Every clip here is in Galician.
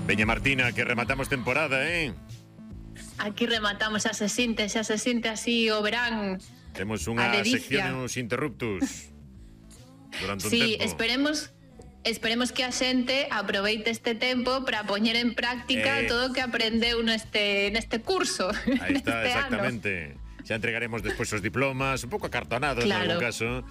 Veña Martina, que rematamos temporada, Aquí rematamos, xa se sinte así o verán. Temos unha sección nos interruptus durante un tempo. Esperemos que a xente aproveite este tempo para poñer en práctica todo o que aprendeu neste curso. Aí está, exactamente. Xa entregaremos despois os diplomas, un pouco acartonados, claro, en algún caso,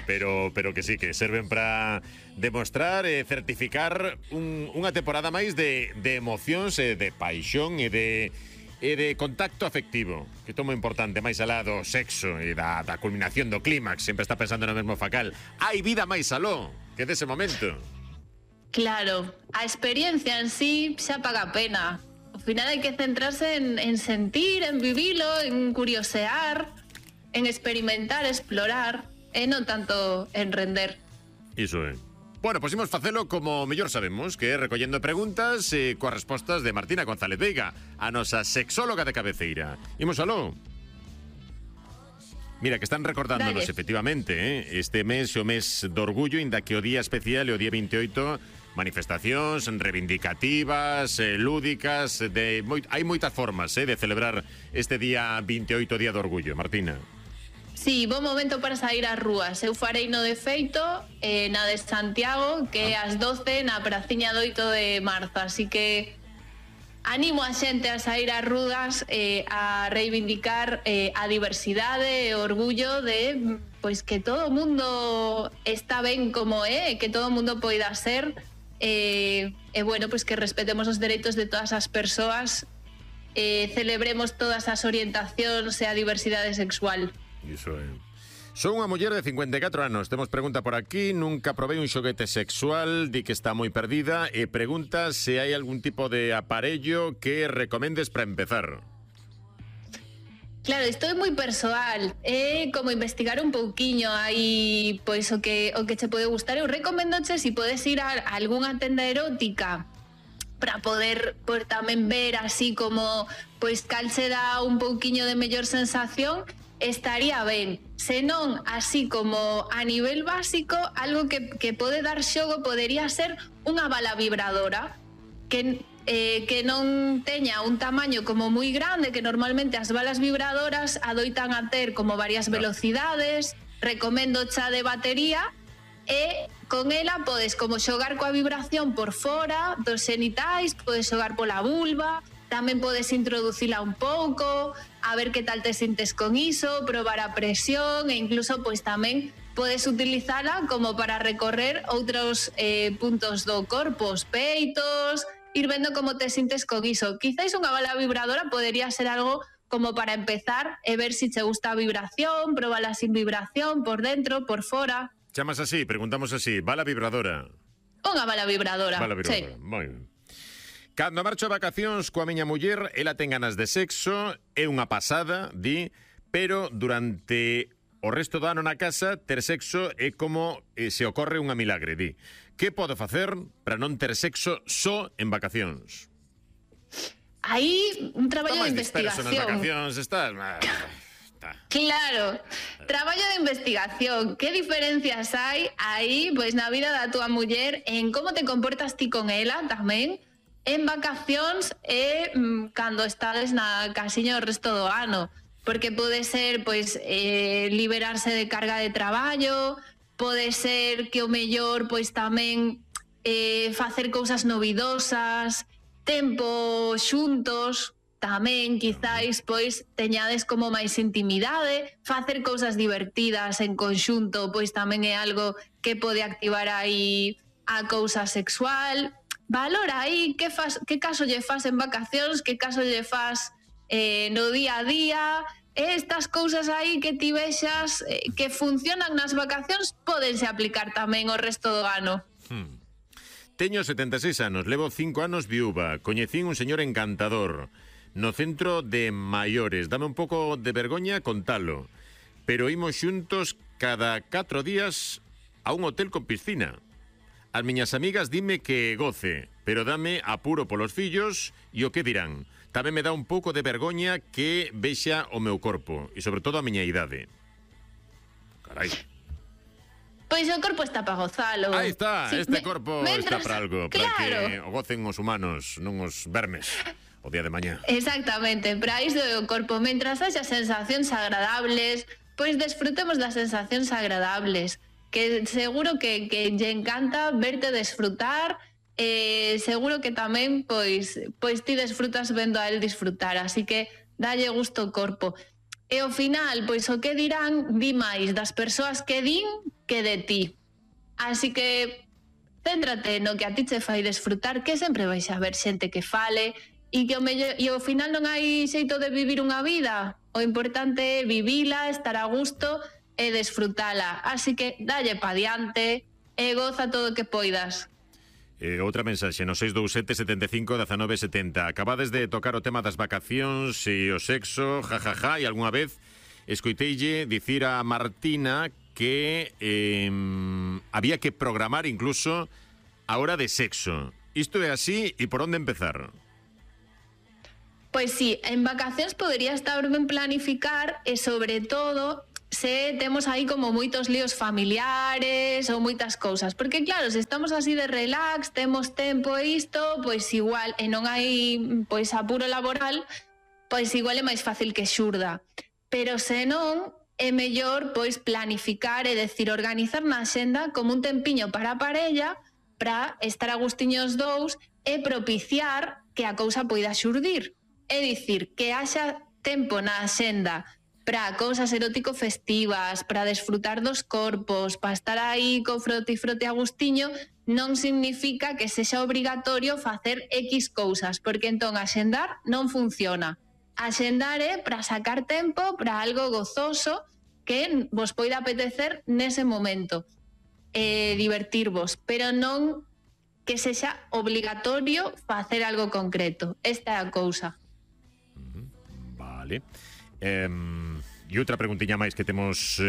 pero que sí, que serven para demostrar e certificar unha temporada máis de emocións e de paixón e de contacto afectivo, que é moi importante, máis alá do sexo e da culminación do clímax. Sempre está pensando no mesmo facal. Hai vida máis aló que dese momento. Claro, a experiencia en sí xa paga a pena. Ao final hai que centrarse en sentir, en vivilo, en curiosear, en experimentar, explorar, e non tanto en render. Iso é. Bueno, pois imos facelo como mellor sabemos, que é recollendo preguntas coas respostas de Martina González Veiga, a nosa sexóloga de cabeceira. Imos aló. Mira, que están recordándonos, efectivamente, este mes é o mes do orgullo, inda que o día especial é o día 28, manifestacións reivindicativas, lúdicas, hai moitas formas de celebrar este día 28, día do orgullo, Martina. Sí, bo momento para sair ás rúas. Eu farei no de feito na de Santiago, que é ás 12 na Praciña do 8 de marzo, así que animo a xente a sair ás rúas a reivindicar a diversidade e o orgullo de pois que todo o mundo está ben como é, que todo o mundo poida ser e bueno, pois que respetemos os dereitos de todas as persoas, celebremos todas as orientacións e a diversidade sexual. Iso é. Son unha muller de 54 anos. Temos pregunta por aquí. Nunca probei un xoguete sexual. Di que está moi perdida. E pregunta se hai algún tipo de aparello que recomendes para empezar. Claro, isto é moi persoal. É como investigar un pouquiño aí pois o que che pode gustar. Eu recomendoche se podes ir a algunha tenda erótica para poder tamén ver así como pois cal se dá un pouquiño de mellor sensación. Estaría ben, senón así como a nivel básico, algo que pode dar xogo podería ser unha bala vibradora que non teña un tamaño como moi grande, que normalmente as balas vibradoras adoitan a ter como varias velocidades. Recomendo xa de batería e con ela podes como xogar coa vibración por fora dos xenitais, podes xogar pola vulva, tamén podes introducila un pouco, a ver que tal te sintes con iso, probar a presión e incluso pois tamén podes utilizala como para recorrer outros puntos do corpo, os peitos, ir vendo como te sintes con iso. Quizáis unha bala vibradora podería ser algo como para empezar e ver se te gusta a vibración, probala sin vibración, por dentro, por fora. Chamas así, preguntamos así, bala vibradora. Unha bala vibradora. Bala vibradora, sí. Moi ben. Cando marcho a vacacións coa miña muller, ela ten ganas de sexo, é unha pasada, di, pero durante o resto do ano na casa, ter sexo é como se ocorre unha milagre, di. Que podo facer para non ter sexo só en vacacións? Aí un traballo de investigación. Nas vacacións estás... Claro, traballo de investigación. Que diferencias hai aí, pois na vida da túa muller, en como te comportas ti con ela tamén, en vacacións e cando estades na casiña o resto do ano, porque pode ser pois liberarse de carga de traballo, pode ser que o mellor pois tamén facer cousas novidosas, tempo xuntos, tamén quizáis pois teñades como máis intimidade, facer cousas divertidas en conxunto pois tamén é algo que pode activar aí a cousa sexual. Valora aí que caso lle fas en vacacións, que caso lle fas no día a día. Estas cousas aí que ti vexas que funcionan nas vacacións pódense aplicar tamén o resto do ano. Teño 76 anos, levo 5 anos viúva, coñecín un señor encantador no centro de maiores, dame un pouco de vergoña contalo, pero imos xuntos cada 4 días a un hotel con piscina. As miñas amigas dime que goce, pero dame apuro polos fillos e o que dirán. Tamén me dá un pouco de vergoña que vexa o meu corpo e sobre todo a miña idade. Carai. Pois o corpo está para gozalo. Aí está, Sí, este corpo está para algo, para claro. que o gocen os humanos, non os vermes, o día de mañá. Exactamente, para iso é o corpo. Mentras haxa sensacións agradables, pois desfrutemos das sensacións agradables, que seguro que lle encanta verte desfrutar, seguro que tamén pois ti desfrutas vendo a él disfrutar, así que dalle gusto ao corpo. E ao final, pois o que dirán, di máis das persoas que din que de ti. Así que céntrate no que a ti che fai desfrutar, que sempre vais a ver xente que fale e que ao final non hai xeito de vivir unha vida. O importante é vivila, estar a gusto e desfrutala. Así que dalle pa diante e goza todo o que poidas. Outra mensaxe no 627 75 19 70. Acabades de tocar o tema das vacacións e o sexo, jajaja, e algunha vez escoiteille dicir a Martina que había que programar incluso a hora de sexo. Isto é así e por onde empezar? Pois sí, en vacacións podería estar ben planificar e sobre todo se temos aí como moitos líos familiares ou moitas cousas, porque claro, se estamos así de relax, temos tempo e isto, pois igual, e non hai pois apuro laboral, pois igual é máis fácil que xurda. Pero se non, é mellor pois planificar, é decir, organizar na xenda como un tempiño para a parella, para estar a gustiños dous e propiciar que a cousa poida xurdir. É dicir, que haxa tempo na xenda para cousas erótico-festivas, para desfrutar dos corpos, para estar aí co frote e frote a gustiño, non significa que sexa obrigatorio facer X cousas, porque entón axendar non funciona. Axendar é para sacar tempo para algo gozoso que vos poida apetecer nese momento, divertirvos, pero non que sexa obligatorio facer algo concreto. Esta é a cousa. Vale. E outra preguntiña máis que temos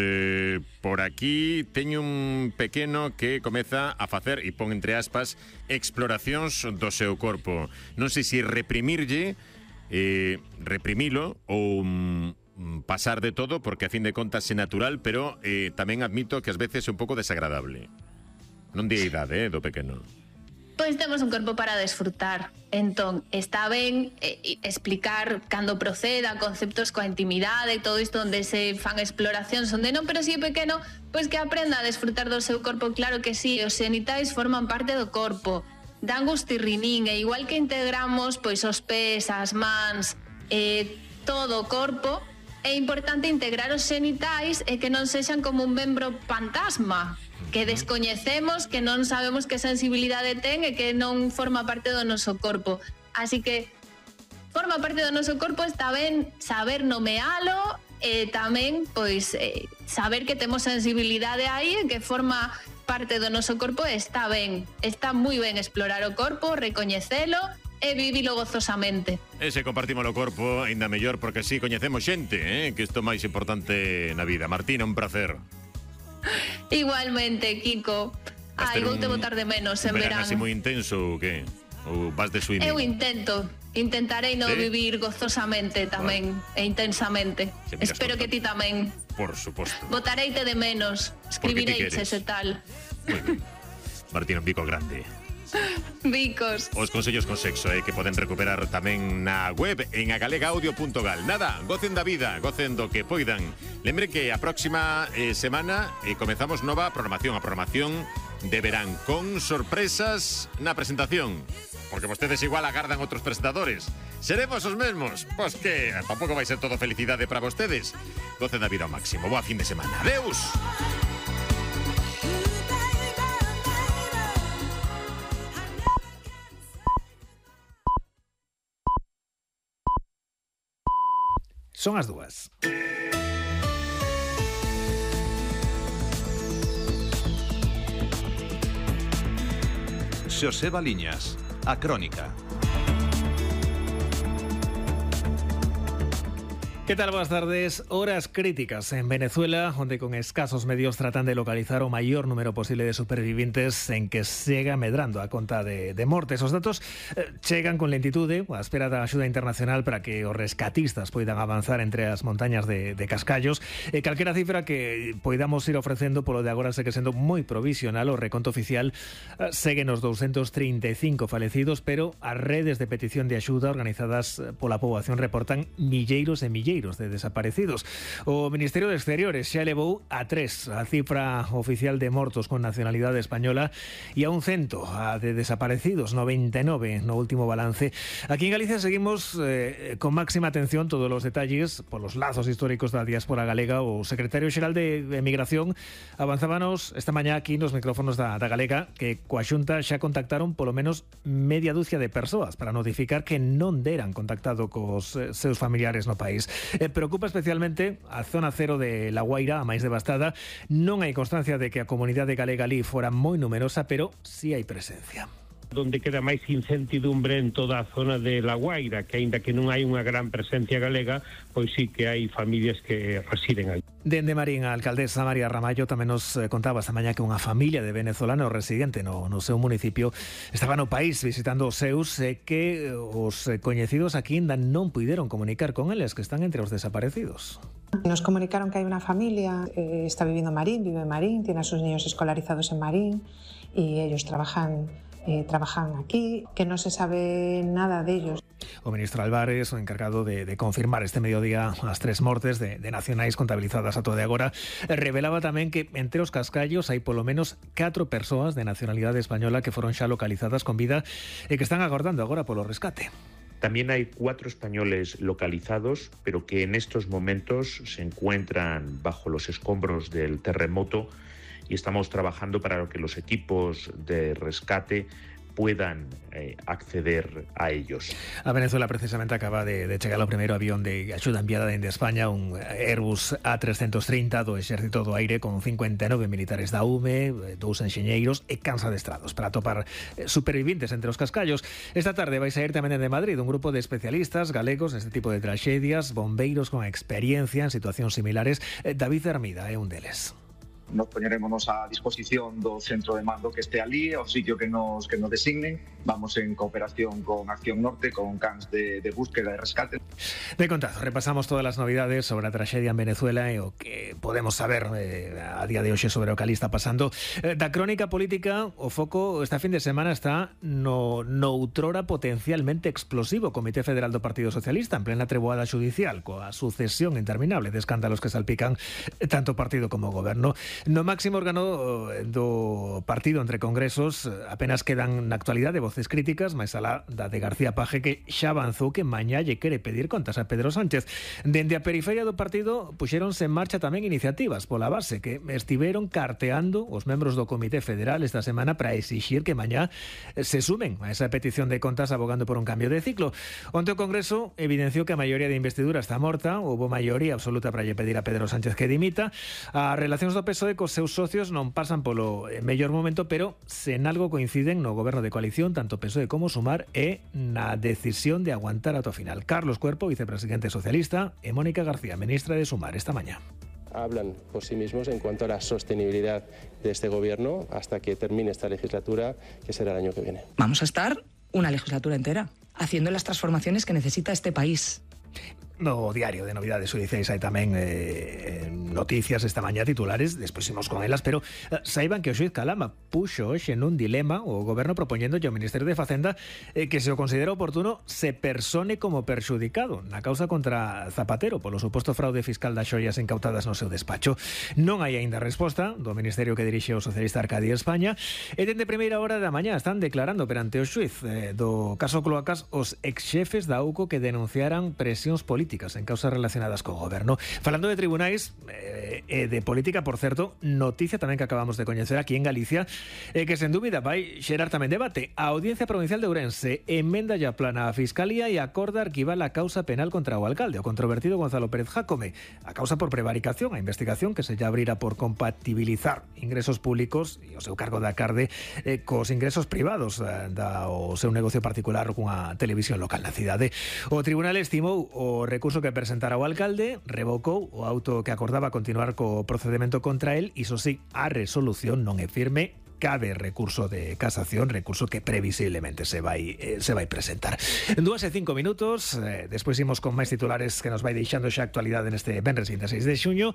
por aquí. Teño un pequeno que comeza a facer, e pon entre aspas, exploracións do seu corpo. Non sei se reprimirlle, reprimilo ou pasar de todo, porque a fin de contas é natural, pero tamén admito que ás veces é un pouco desagradable. Non di a idade do pequeno. Pois temos un corpo para desfrutar. Entón, está ben explicar cando proceda, conceptos coa intimidade e todo isto onde se fan exploracións, onde non, pero si é pequeno, pois que aprenda a desfrutar do seu corpo. Claro que sí, os xenitais forman parte do corpo, dan gustirrinín, e igual que integramos pois os pés, as mans, todo o corpo, é importante integrar os xenitais e que non sexan como un membro fantasma, que descoñecemos, que non sabemos que sensibilidade ten e que non forma parte do noso corpo. Así que forma parte do noso corpo, está ben saber nomealo e tamén pois saber que temos sensibilidade aí e que forma parte do noso corpo. Está ben, está moi ben explorar o corpo, recoñecelo e vivilo gozosamente. E se compartimos o corpo, ainda mellor, porque así coñecemos xente, que isto é máis importante na vida. Martina, un placer. Igualmente, Kiko. Ai, vou te botar de menos en verán. Así moi intenso ou que? Ou vas de swimming? Eu intentarei no vivir gozosamente tamén, e intensamente. Espero que ti tamén. Por suposto. Botareite de menos, escribireis ese tal. Muy bien. Martina, un bico grande. Bicos. Os consellos con sexo que poden recuperar tamén na web en agalegaudio.gal. Nada, gocen da vida, gocen do que poidan. Lembre que a próxima semana comezamos nova programación, a programación de verán, con sorpresas na presentación, porque vostedes igual agardan outros presentadores. Seremos os mesmos? Pois que tampouco vai ser todo felicidade para vostedes. Gocen da vida ao máximo. Boa fin de semana. Adeus. Son as 2. Xoseba Liñas, a crónica. ¿Qué tal? Buenas tardes. Horas críticas en Venezuela, onde con escasos medios tratan de localizar o maior número posible de supervivientes en que siga medrando a conta de mortes. Os datos chegan con lentitude a espera da axuda internacional para que os rescatistas poidan avanzar entre as montañas de Cascallos. Calquera cifra que poidamos ir ofrecendo polo de agora segue sendo moi provisional. O reconto oficial segue nos 235 falecidos, pero as redes de petición de axuda organizadas pola poboación reportan milleiros e milleiros de desaparecidos. O Ministerio de Exteriores xa elevou a 3 a cifra oficial de mortos con nacionalidade española e a un 100 a de desaparecidos, 99 no último balance. Aquí en Galicia seguimos con máxima atención todos os detalles polos lazos históricos da diáspora galega. O secretario xeral de Emigración avanzábanos esta mañá aquí nos micrófonos da Galega que coa Xunta xa contactaron polo menos media dúcia de persoas para notificar que non deran contactado cos seus familiares no país. Preocupa especialmente a zona cero de La Guaira, a máis devastada. Non hai constancia de que a comunidade galega ali fora moi numerosa, pero sí hai presencia. Donde queda máis incertidumbre en toda a zona de La Guaira, que aínda que non hai unha gran presencia galega, pois sí que hai familias que residen aí. Dende Marín, a alcaldesa María Ramallo tamén nos contaba esta mañá que unha familia de venezolanos residente no seu municipio estaba no país visitando os seus que os coñecidos aquí ainda non puideron comunicar con eles, que están entre os desaparecidos. Nos comunicaron que hay una familia, está viviendo en Marín, vive en Marín, tiene a sus niños escolarizados en Marín y ellos trabajan aquí, que no se sabe nada de ellos. O ministro Álvarez, o encargado de confirmar este mediodía as 3 mortes de nacionais contabilizadas a todo de agora, revelaba tamén que entre os cascallos hai polo menos 4 persoas de nacionalidade española que foron xa localizadas con vida e que están agardando agora polo rescate. También hay 4 españoles localizados, pero que en estos momentos se encuentran bajo los escombros del terremoto y estamos trabajando para que los equipos de rescate puedan acceder a ellos. A Venezuela precisamente acaba de chegar o primeiro avión de axuda enviada dende España, un Airbus A330 do Exército do Aire con 59 militares da UME, 2 enxeñeiros e cansa adestrados para atopar supervivientes entre os cascallos. Esta tarde vai sair tamén de Madrid un grupo de especialistas galegos neste tipo de tragedias, bombeiros con experiencia en situacións similares. David Hermida é un deles. Nos poñeremos a disposición do centro de mando que este ali, ao sitio que nos designen. Vamos en cooperación con Acción Norte, con cans de búsqueda e rescate. De contado, repasamos todas as novidades sobre a traxedia en Venezuela e o que podemos saber a día de hoxe sobre o que ali está pasando. Da crónica política, o foco esta fin de semana está no outrora potencialmente explosivo Comité Federal do Partido Socialista en plena treboada xudicial, coa sucesión interminable de escándalos que salpican tanto partido como goberno. No máximo órgano do partido entre congresos apenas quedan na actualidade voces críticas, máis alá da de García Paje, que xa avanzou que mañá lle quere pedir contas a Pedro Sánchez. Dende a periferia do partido puxéronse en marcha tamén iniciativas pola base que estiveron carteando os membros do Comité Federal esta semana para exixir que mañá se sumen a esa petición de contas abogando por un cambio de ciclo. Onte o Congreso evidenciou que a maioría de investidura está morta, houbo maioría absoluta para lle pedir a Pedro Sánchez que dimita. As relacións do PSOE cos seus socios non pasan polo mellor momento, pero sen algo coinciden no goberno de coalición, tanto PSOE como Sumar, e na decisión de aguantar ata o final. Carlos Cuerpo, vicepresidente socialista, e Mónica García, ministra de Sumar, esta mañá. Hablan por sí mismos en cuanto a la sostenibilidad de este gobierno hasta que termine esta legislatura, que será el año que viene. Vamos a estar una legislatura entera haciendo las transformaciones que necesita este país. No diario de novidades judiciais hai tamén noticias esta mañá, titulares, despois imos con elas, pero saiban que o xuiz Calama puxo hoxe nun dilema o goberno propoñendo ao Ministerio de Facenda que se o considera oportuno se persone como perxudicado na causa contra Zapatero polo suposto fraude fiscal das xoias incautadas no seu despacho. Non hai aínda resposta do Ministerio que dirixe o socialista Arcadi España e dende primeira hora da mañá están declarando perante o xuiz do caso Cloacas os exxefes da UCO que denunciaran presións políticas en causas relacionadas co goberno. Falando de tribunais, de política, por certo, noticia tamén que acabamos de coñecer aquí en Galicia, que sen dúbida vai xerar tamén debate. A Audiencia Provincial de Ourense emenda ya plana a Fiscalía e acorda arquivar a causa penal contra o alcalde, o controvertido Gonzalo Pérez Jácome. A causa por prevaricación, a investigación que se lle abrirá por compatibilizar ingresos públicos e o seu cargo da Carde cos ingresos privados o seu negocio particular cunha televisión local na cidade. O tribunal estimou o recurso que presentara o alcalde, revocou o auto que acordaba continuar co procedemento contra el, iso sí, a resolución non é firme, cabe recurso de casación, recurso que previsiblemente se vai presentar. 2:05, despois imos con máis titulares que nos vai deixando xa actualidade neste venres 26 de xuño.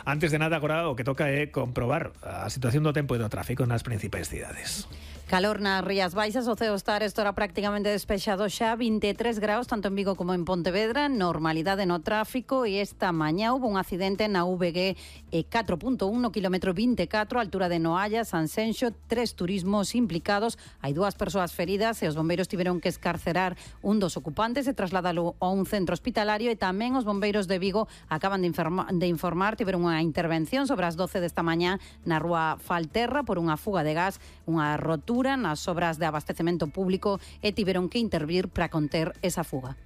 Antes de nada, agora o que toca é comprobar a situación do tempo e do tráfico nas principais cidades. Calor nas Rías Baixas, o ceo está estora prácticamente despexado xa, 23 graus tanto en Vigo como en Pontevedra, normalidade no tráfico, e esta mañá houve un accidente na VG 4.1 no kilómetro 24, altura de Noalla, Sanxenxo, 3 turismos implicados, hai 2 persoas feridas e os bombeiros tiveron que escarcerar un dos ocupantes e trasladalo a un centro hospitalario, e tamén os bombeiros de Vigo acaban de informar, tiveron unha intervención sobre as 12 desta mañá na rúa Falterra por unha fuga de gas, unha rotura nas obras de abastecemento público, e tiveron que intervir para conter esa fuga.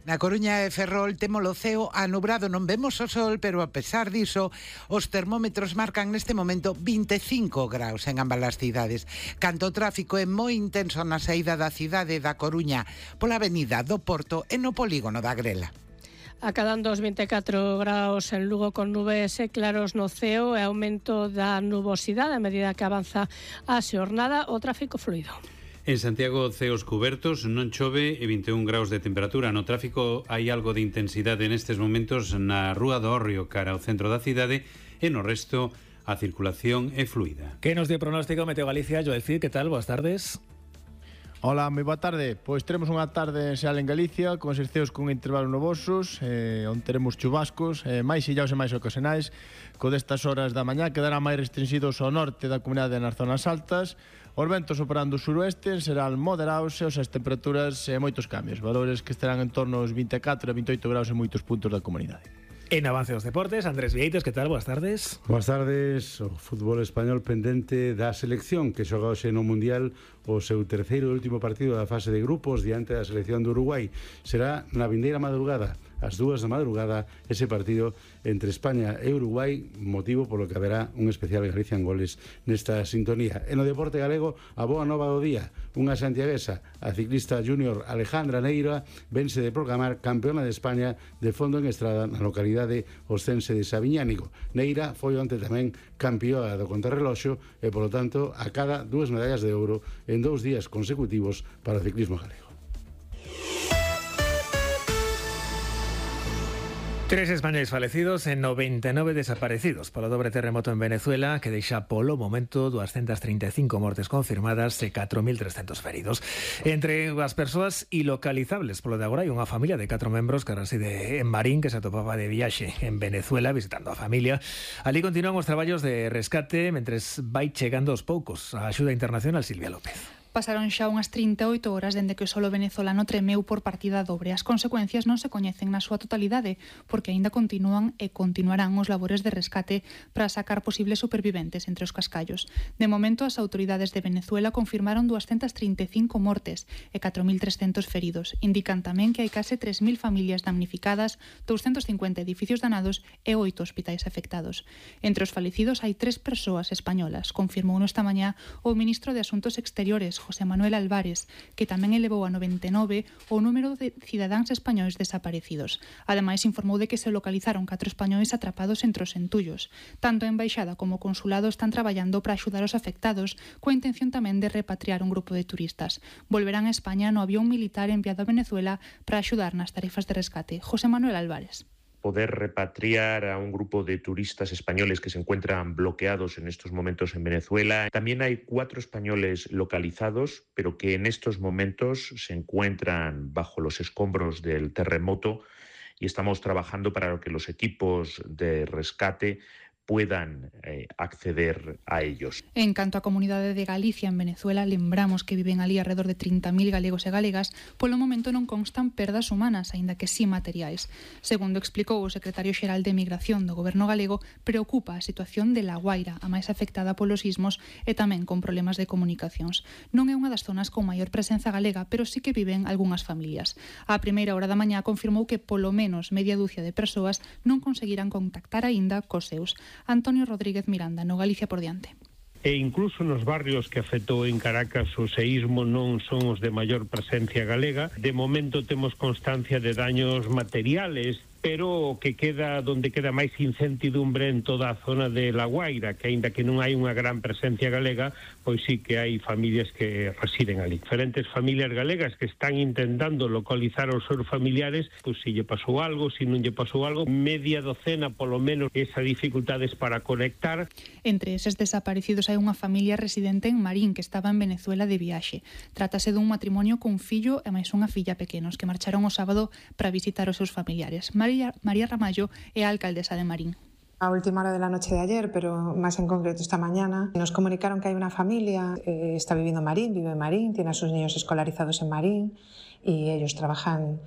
Na Coruña e Ferrol temos o ceo anubrado, non vemos o sol, pero a pesar diso, os termómetros marcan neste momento 25 graus en ambas as cidades. Canto o tráfico é moi intenso na saída da cidade da Coruña, pola avenida do Porto e no polígono da Grela. Acadando os 24 graus en Lugo con nubes e claros no ceo e aumento da nubosidade a medida que avanza a xornada, o tráfico fluido. En Santiago, ceos cubertos, non chove e 21 graus de temperatura. No tráfico hai algo de intensidade nestes momentos na Rúa do Hórreo cara ao centro da cidade, e no resto a circulación é fluida. Que nos dio pronóstico Meteo Galicia? Joel Cid, que tal? Boas tardes. Hola, moi boa tarde. Pois teremos unha tarde enxeal en Galicia con eses ceos con intervalos nubosos, onde teremos chubascos, máis illaos e máis ocasionais. Co destas horas da mañá quedarán máis restringidos ao norte da comunidade nas zonas altas. Os ventos operando suroeste serán moderados e as temperaturas moitos cambios, valores que estarán en torno aos 24 e 28 graus en moitos puntos da comunidade. En Avance dos Deportes, Andrés Vieites, que tal? Boas tardes. Boas tardes. O fútbol español pendente da selección que xoga hoxe no Mundial o seu terceiro e último partido da fase de grupos diante da selección do Uruguai. Será na vindeira madrugada, ás 2 da madrugada, ese partido entre España e Uruguai, motivo polo que haberá un especial Galicia en goles nesta sintonía. En o deporte galego, a boa nova do día, unha santiaguesa, a ciclista júnior Alejandra Neira, vense de proclamar campeona de España de fondo en estrada na localidade oscense de Sabiñánigo. Neira foi onte tamén campeoa do contrarreloxo e, polo tanto, acada 2 medallas de ouro en 2 días consecutivos para o ciclismo galego. 3 españoles falecidos e 99 desaparecidos polo dobre terremoto en Venezuela, que deixa polo momento 235 mortes confirmadas e 4.300 feridos. Entre as persoas ilocalizables polo de agora hai unha familia de 4 membros que reside en Marín, que se atopaba de viaxe en Venezuela visitando a familia. Ali continúan os traballos de rescate mentres vai chegando aos poucos a axuda internacional. Silvia López. Pasaron xa unhas 38 horas dende que o solo venezolano tremeu por partida dobre. As consecuencias non se coñecen na súa totalidade, porque aínda continúan e continuarán os labores de rescate para sacar posibles superviventes entre os cascallos. De momento, as autoridades de Venezuela confirmaron 235 mortes e 4.300 feridos. Indican tamén que hai case 3.000 familias damnificadas, 250 edificios danados e 8 hospitais afectados. Entre os falecidos hai 3 persoas españolas, confirmou esta mañá o ministro de Asuntos Exteriores, José Manuel Álvarez, que tamén elevou a 99 o número de cidadáns españois desaparecidos. Ademais, informou de que se localizaron 4 españois atrapados entre os entullos. Tanto a embaixada como o consulado están traballando para axudar os afectados, coa intención tamén de repatriar un grupo de turistas. Volverán a España no avión militar enviado a Venezuela para axudar nas tarefas de rescate. José Manuel Álvarez. Poder repatriar a un grupo de turistas españoles que se encuentran bloqueados en estos momentos en Venezuela. También hay 4 españoles localizados, pero que en estos momentos se encuentran bajo los escombros del terremoto, y estamos trabajando para que los equipos de rescate puedan acceder a ellos. En canto á Comunidade de Galicia en Venezuela, lembramos que viven ali alrededor de 30.000 galegos e galegas. Polo momento non constan perdas humanas, aínda que sí materiais. Segundo explicou o secretario xeral de Migración do Goberno galego, preocupa a situación de La Guaira, a máis afectada polos sismos e tamén con problemas de comunicacións. Non é unha das zonas con maior presenza galega, pero sí que viven algunhas familias. A primeira hora da mañá confirmou que polo menos media dúcia de persoas non conseguirán contactar aínda cos seus. Antonio Rodríguez Miranda, no Galicia por diante. E incluso nos barrios que afectou en Caracas o seísmo non son os de maior presencia galega. De momento temos constancia de daños materiales, pero que queda donde queda máis incertidumbre en toda a zona de La Guaira, que aínda que non hai unha gran presencia galega, pois sí que hai familias que residen ali. Diferentes familias galegas que están intentando localizar os seus familiares, pois se lle pasou algo, se non lle pasou algo, media docena polo menos esas dificultades para conectar. Entre eses desaparecidos hai unha familia residente en Marín que estaba en Venezuela de viaxe. Trátase dun matrimonio cun fillo e máis unha filla pequenos que marcharon o sábado para visitar os seus familiares. María Ramallo é a alcaldesa de Marín. A última hora de la noche de ayer, pero más en concreto esta mañana, nos comunicaron que hay una familia, está viviendo en Marín, vive en Marín, tiene a sus niños escolarizados en Marín y ellos trabajan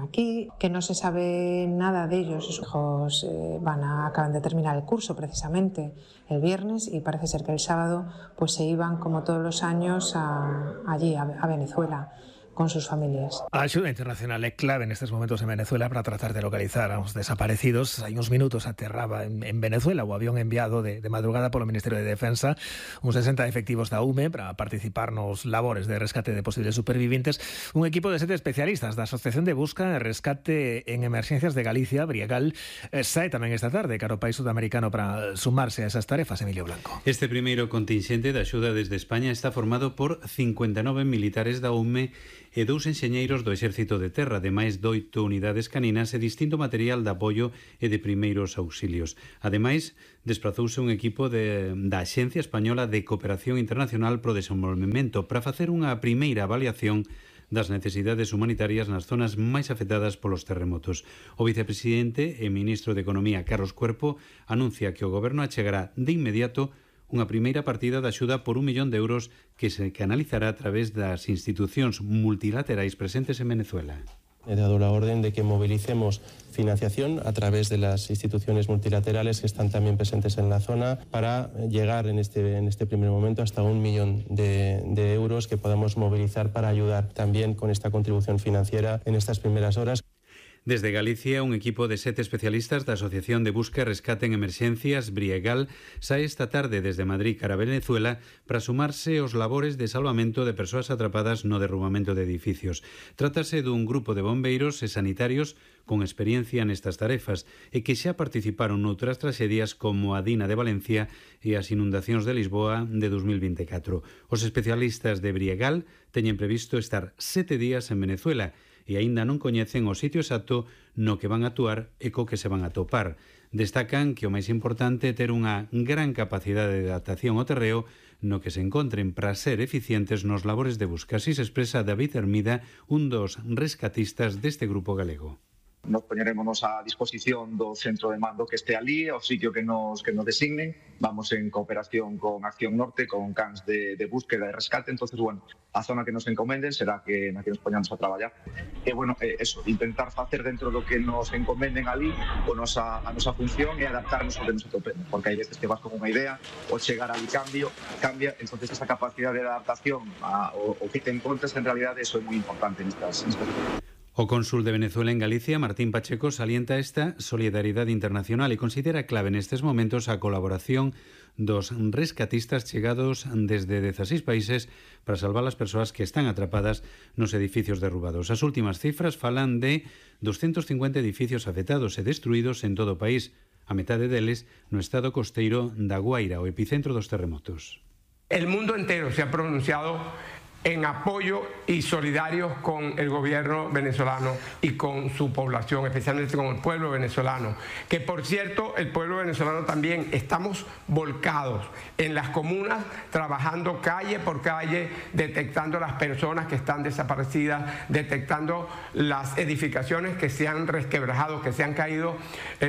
aquí, que no se sabe nada de ellos. Sus hijos acaban de terminar el curso precisamente el viernes y parece ser que el sábado pues se iban como todos los años allí a Venezuela con sus familias. A axuda internacional é clave nestes momentos en Venezuela para tratar de localizar a os desaparecidos. Hai uns minutos aterraba en Venezuela o avión enviado de madrugada polo Ministerio de Defensa, uns 60 efectivos da UME para participar nos labores de rescate de posibles supervivientes. Un equipo de 7 especialistas da Asociación de Busca e Rescate en Emerxencias de Galicia, Briegal, sae tamén esta tarde cara ao país sudamericano para sumarse a esas tarefas. Emilio Blanco. Este primeiro contingente de axuda desde España está formado por 59 militares da UME e 2 enxeñeiros do Exército de Terra, ademais de 8 unidades caninas e distinto material de apoio e de primeiros auxilios. Ademais, desprazouse un equipo da Axencia Española de Cooperación Internacional pro Desenvolvemento para facer unha primeira avaliación das necesidades humanitarias nas zonas máis afectadas polos terremotos. O vicepresidente e ministro de Economía, Carlos Cuerpo, anuncia que o goberno achegará de inmediato unha primeira partida de axuda por 1 millón de euros que se canalizará a través das institucións multilaterais presentes en Venezuela. He dado la orden de que movilicemos financiación a través de las instituciones multilaterales que están también presentes en la zona para llegar en este primer momento hasta 1 millón de euros que podamos movilizar para ayudar también con esta contribución financiera en estas primeras horas. Desde Galicia, un equipo de 7 especialistas da Asociación de Busca e Rescate en Emerxencias, Briegal, sae esta tarde desde Madrid cara a Venezuela para sumarse aos labores de salvamento de persoas atrapadas no derrubamento de edificios. Trátase dun grupo de bombeiros e sanitarios con experiencia nestas tarefas e que xa participaron noutras traxedias como a Dina de Valencia e as inundacións de Lisboa de 2024. Os especialistas de Briegal teñen previsto estar 7 días en Venezuela e aínda non coñecen o sitio exacto no que van a actuar e co que se van a topar. Destacan que o máis importante é ter unha gran capacidade de adaptación ao terreo no que se encontren para ser eficientes nos labores de busca. Así se expresa David Hermida, un dos rescatistas deste grupo galego. Nos poñerémonos a disposición do centro de mando que esté ali, ao sitio que nos designen. Vamos en cooperación con Acción Norte, con cans de búsqueda e rescate. Entonces, bueno, a zona que nos encomenden será que na que nos poñamos a traballar. E, bueno, eso, intentar facer dentro do que nos encomenden ali a nosa función e adaptarnos ao que nos atopemos. Porque hai veces que vas con unha idea, o chegar ali cambia. Entonces, esa capacidade de adaptación ao que te encontras, en realidad, eso é moi importante nestas. O cónsul de Venezuela en Galicia, Martín Pacheco, salienta esta solidaridade internacional e considera clave nestes momentos a colaboración dos rescatistas chegados desde 16 países para salvar as persoas que están atrapadas nos edificios derrubados. As últimas cifras falan de 250 edificios afectados e destruídos en todo o país, a metade deles no estado costeiro da Guaira, o epicentro dos terremotos. El mundo entero se ha pronunciado en apoyo y solidarios con el gobierno venezolano y con su población, especialmente con el pueblo venezolano. Que por cierto, el pueblo venezolano también estamos volcados en las comunas, trabajando calle por calle, detectando las personas que están desaparecidas, detectando las edificaciones que se han resquebrajado, que se han caído,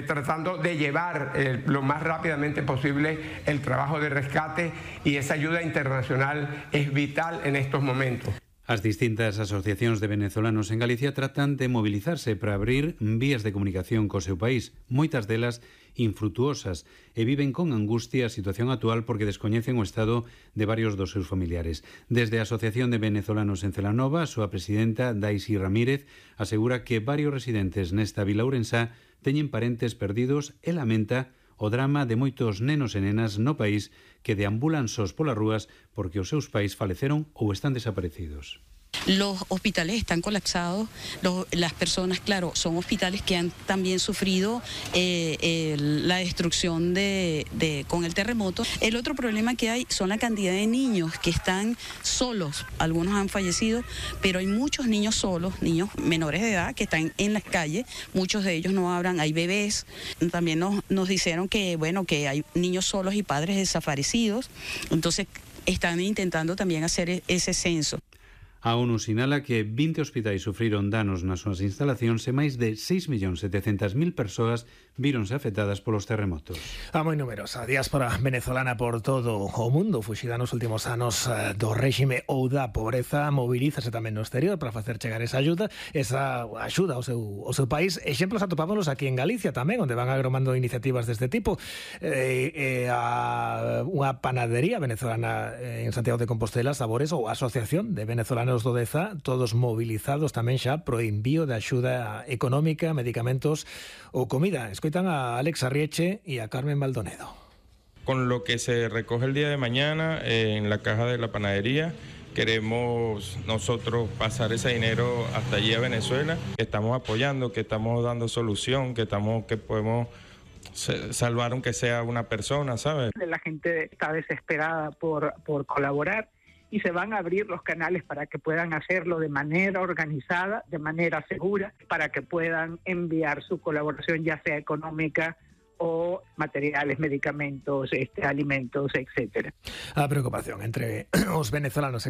tratando de llevar lo más rápidamente posible el trabajo de rescate, y esa ayuda internacional es vital en estos momentos. As distintas asociacións de venezolanos en Galicia tratan de mobilizarse para abrir vías de comunicación co seu país, moitas delas infrutuosas, e viven con angustia a situación actual porque descoñecen o estado de varios dos seus familiares. Desde a Asociación de Venezolanos en Celanova, a súa presidenta, Daisy Ramírez, asegura que varios residentes nesta vila ourensá teñen parentes perdidos e lamenta o drama de moitos nenos e nenas no país que deambulan sós polas rúas porque os seus pais faleceron ou están desaparecidos. Los hospitales están colapsados, las personas, claro, son hospitales que han también sufrido la destrucción con el terremoto. El otro problema que hay son la cantidad de niños que están solos. Algunos han fallecido, pero hay muchos niños solos, niños menores de edad que están en las calles. Muchos de ellos no hablan, hay bebés. También nos dijeron que, bueno, que hay niños solos y padres desaparecidos. Entonces están intentando también hacer ese censo. A ONU sinala que 20 hospitais sufriron danos nas súas instalacións e máis de 6.700.000 persoas víronse afectadas polos terremotos. A moi numerosa a diáspora venezolana por todo o mundo, fuxida nos últimos anos do réxime ou da pobreza, mobilízase tamén no exterior para facer chegar esa axuda ao seu país. Exemplos atopámonos aquí en Galicia tamén, onde van agromando iniciativas deste tipo. Unha panadería venezolana en Santiago de Compostela, Sabores, ou a Asociación de Venezolanos do Deza, todos movilizados tamén xa pro envío de axuda económica, medicamentos ou comida. Escoitan a Alex Arrieche e a Carmen Baldonedo. Con lo que se recoge el día de mañana en la caja de la panadería, queremos nosotros pasar ese dinero hasta allí a Venezuela. Estamos apoyando, que estamos dando solución, que podemos salvar aunque sea una persona, ¿sabes? La gente está desesperada por colaborar, y se van a abrir los canales para que puedan hacerlo de manera organizada, de manera segura, para que puedan enviar su colaboración, ya sea económica o materiales, medicamentos, alimentos, etcétera. A preocupación entre os venezolanos